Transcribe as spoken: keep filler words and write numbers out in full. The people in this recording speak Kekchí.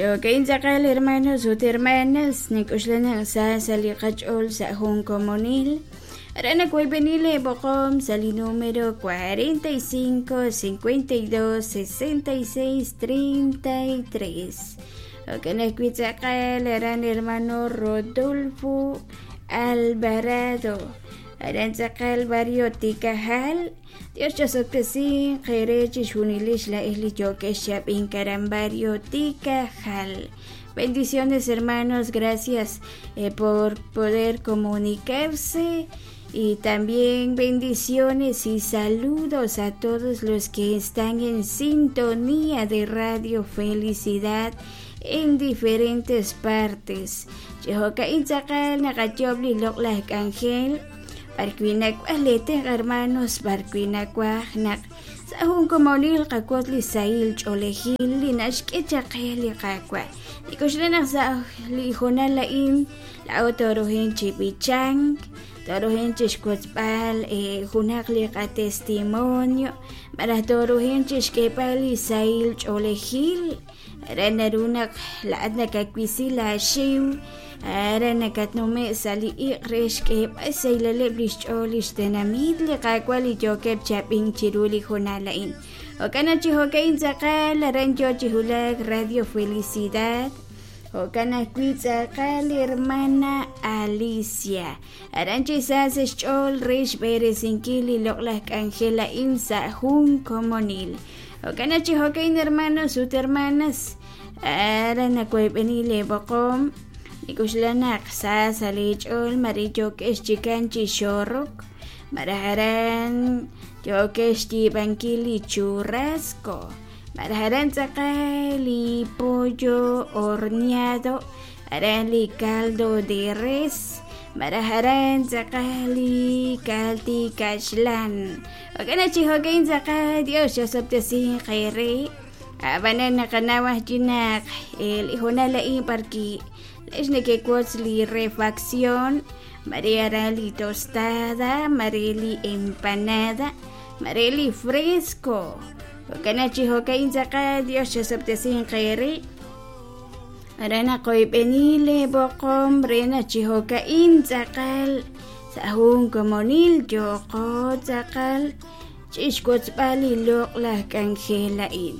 Jo'kan tz'aqal hermanos ut hermanas nik'uxlanaq sa sa' li qach'ool sa' jun komonil aran nawoyb'eni leeboqom sa' li número cuarenta y cinco, cincuenta y dos, sesenta y seis, treinta y tres. Jo'kan ajwi' tz'aqal aran hermano Rodolfo Alvarado aran tz'aqal barrio Tikajal. Dios chasotpesin qere chixjunilix la'ej li yokex xab'in karan barrio Tikajal. Bendiciones hermanos, gracias eh, por poder comunicarse y también bendiciones y saludos a todos los que están en sintonía de Radio Felicidad en diferentes partes. Chihoka'in tz'aqal naqayob li loq'laj k'anjel barkwinakwaj letenq hermanos barkwinakwaj naq sa' jun komonil qakot li sahil ch'oolejil li naxk'e chaqe li qakwa nik'uxlanaq sa' li jonal la'in la'o torojin chi b'ichank torojin chi xkotzb'al eh, junaq li qatestimonio maraj torojin chi xk'eb'al li sahil ch'oolejil aran narunaq la'at nakawisi laaxiw ara nakatnume' sa' li iq' re xk'eeb'al saylaleb' li xch'ool li xtenamit li qaawa' li yookeb' chab'in chiru li jonal a'in. Jo'kan chi jo'ka'in tz'aqal aran yo chi hulak Radio Felicidad. Jo'kan ajwi' tz'aqal hermana Alicia aran chi sa sa' xch'ool re xb'eresinkil li loq'laj k'anjel a'in sa' jun komonil. Jo'kan chi jo'ka'in hermanos ut hermanas ara nakoyb'eni leeboqom nik'uxlanaq sa sa' li ch'ool mari yokex chikan chi xorok marajaran yokex yiib'ankil li churrasco marajaran tz'aqal li pollo horneado aran li caldo de res marajaran tz'aqal li kalti kaxlan. Jo'kan chi jo'kan tz'aqal Dios chasoptesin qere abanan naqanawaj chinaq el jonal la'in parki lex nekekotz li refacción María li tostada, María li empanada, María li fresco. Jo'kan chi jo'kan tz'aqal Dios chasoptesin qere arana qoyb'eni leeboqom rena chi jo'ka'in tz'aqal sa' jun komonil yoqo tz'aqal chixkotzb'al li loq'laj k'anjel a'in.